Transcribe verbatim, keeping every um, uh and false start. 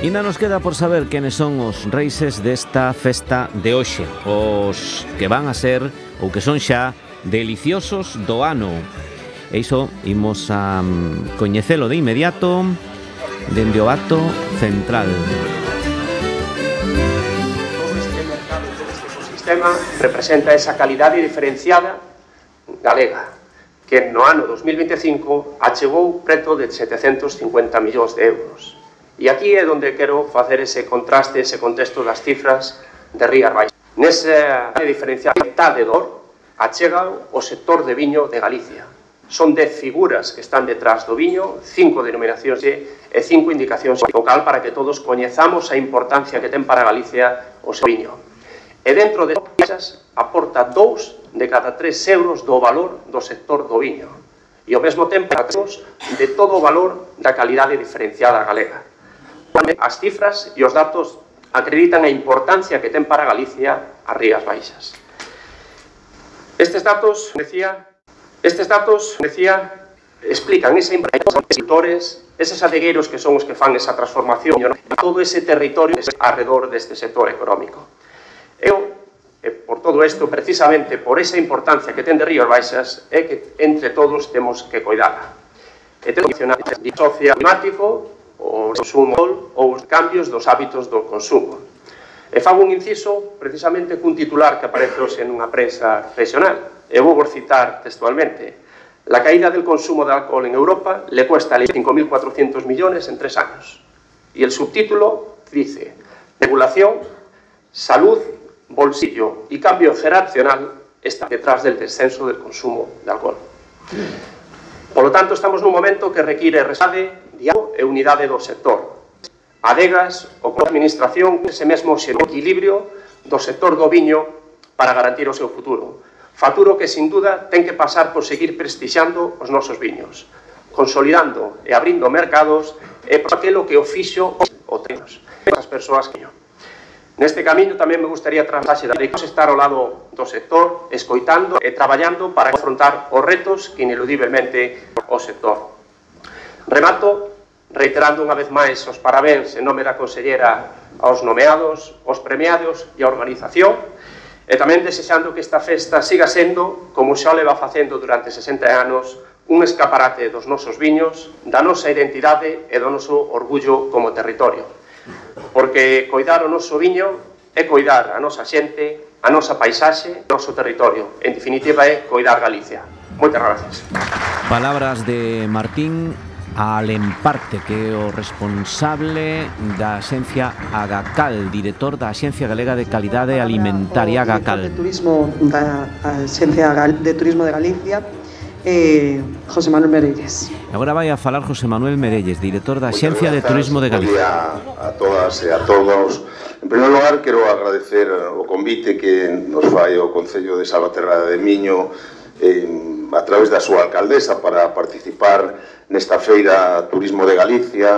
Ainda nos queda por saber quenes son os reixes desta festa de hoxe, os que van a ser, ou que son xa, deliciosos do ano. E iso imos a coñecelo de inmediato dende o acto central. Todo este mercado, todo este ecosistema representa esa calidade diferenciada galega, que no ano dos mil veinticinco achegou preto de setecentos cincuenta millóns de euros. E aquí é onde quero facer ese contraste, ese contexto das cifras de Rías Baixas. Nesa diferencialidade do achega o sector de viño de Galicia. Son dez figuras que están detrás do viño, cinco denominacións e cinco indicacións local para que todos coñezamos a importancia que ten para Galicia o seu viño. E dentro de esas aporta dous de cada tres euros do valor do sector do viño. E ao mesmo tempo de todo o valor da calidade diferenciada galega. As cifras e os datos acreditan a importancia que ten para Galicia as Rías Baixas. Estes datos, decía, estes datos, decía, explican esa importancia dos sectores, eses adegueiros que son os que fan esa transformación, todo ese territorio alrededor deste sector económico. Eu, por todo isto, precisamente por esa importancia que ten de Rías Baixas, é que entre todos temos que cuidarla. E temos que mencionar o socioclimático, o consumo ou os cambios dos hábitos do consumo. E fago un inciso precisamente cun titular que aparece hoxe nunha prensa regional. E vou vos citar textualmente. La caída del consumo de alcohol en Europa le cuesta cinco mil cuatrocientos millones en tres años. Y el subtítulo dice: regulación, salud, bolsillo y cambio generacional está detrás del descenso del consumo de alcohol. Por lo tanto, estamos nun momento que require resade, diálogo e unidade do sector. Adegas ou coa administración ese mesmo equilibrio do sector do viño para garantir o seu futuro. Futuro que, sin duda, ten que pasar por seguir prestixiando os nosos viños, consolidando e abrindo mercados e por aquilo que o fixo o temos, as persoas que yo. Neste camiño tamén me gustaría trasladar de estar ao lado do sector, escoitando e traballando para afrontar os retos que ineludiblemente o sector. Remato reiterando unha vez máis os parabéns en nome da consellera aos nomeados, aos premiados e á organización, e tamén desexando que esta festa siga sendo, como xa o leva facendo durante sesenta anos, un escaparate dos nosos viños, da nosa identidade e do noso orgullo como territorio. Porque coidar o noso viño é coidar a nosa xente, a nosa paisaxe, o noso territorio. En definitiva, é coidar Galicia. Moitas gracias. Palabras de Martín Alemparte, que é o responsable da Axencia Agacal, director da Axencia Galega de Calidade Alimentaria Agacal. O de Turismo da Axencia de Turismo de Galicia, eh, José Manuel Merelles. Agora vai a falar José Manuel Merelles, director da Axencia de Turismo de Galicia. A todas e a todos. En primeiro lugar, quero agradecer o convite que nos fai o Concello de Salvaterra de Miño eh, a través da súa alcaldesa para participar nesta feira Turismo de Galicia.